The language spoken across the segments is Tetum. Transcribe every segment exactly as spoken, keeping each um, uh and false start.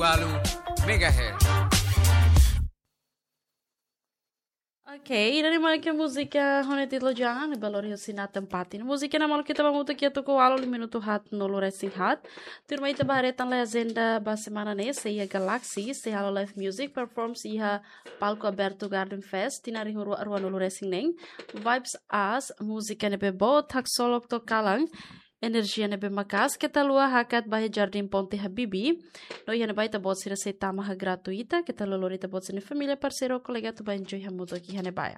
Walu megahertz. Ok, ida-ne'e mak múzika ho nia títulu Jangan, ne'ebé lori husi Nathan Patin. Múzika ne'e malu ita ba hamutuk iha tuku ualu liu minutu haat nulu resin haat. Tuirmai ita ba haree tan lai ajenda ba semana ne'e, sei iha Galaxy, sei halo live music performance iha palku abertu Garden Fest, tinan rihun rua, rua nulu resin neen. Vibes As, múzika ne'ebé boot, haksolok to'o kalan, enerjia ne'ebé maka'as, keta haluha hakat ba iha Jardín Ponte Habibie. No iha ne'ebá ita-boot sira sei tama gratuita, keta haluha lori ita-boot sira-nia família, parseiru, kolega atu ba enjoy hamutuk iha ne'ebá.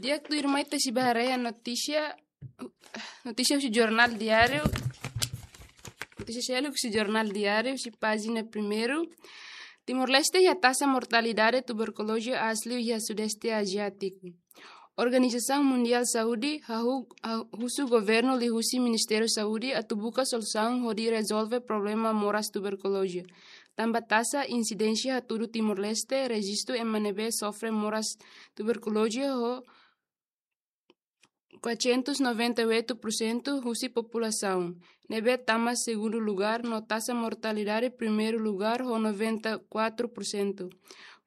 Di'ak, tuirmai ita sei ba haree notísia, notísia husi Jornál Diáriu. Notísia seluk husi Jornál Diáriu, husi pájina primeiru. Timor-Leste iha taxa mortalidade tuberkuloze aas liu iha Sudeste Aziátiku. Organizasaun Mundiál Saúde hahú, ha-, husu governu liuhusi Ministériu Saúde atu buka solusaun hodi rezolve problema moras tuberkuloze. Tanba taxa insidénsia hatudu Timor-Leste, rejistu ema ne'ebé sofre moras tuberkuloze ho quatrocentos noventa e oito por cento husi populasaun, ne'ebé tama segundu lugar, no taxa mortalidade primeiru lugar ho noventa e quatro por cento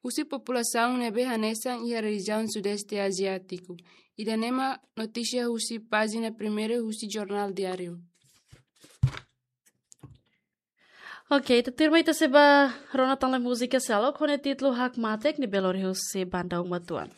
husi populasaun ne'ebé hanesan iha rejiaun Sudeste Aziátiku. Ida-ne'e mak notísia husi pájina primeiru husi Jornál Diáriu. Ok, ita tuirmai ita sei ba rona tan lai múzika seluk ho nia títulu Hakmatek, ne'ebé lori husi banda Uma Tuan.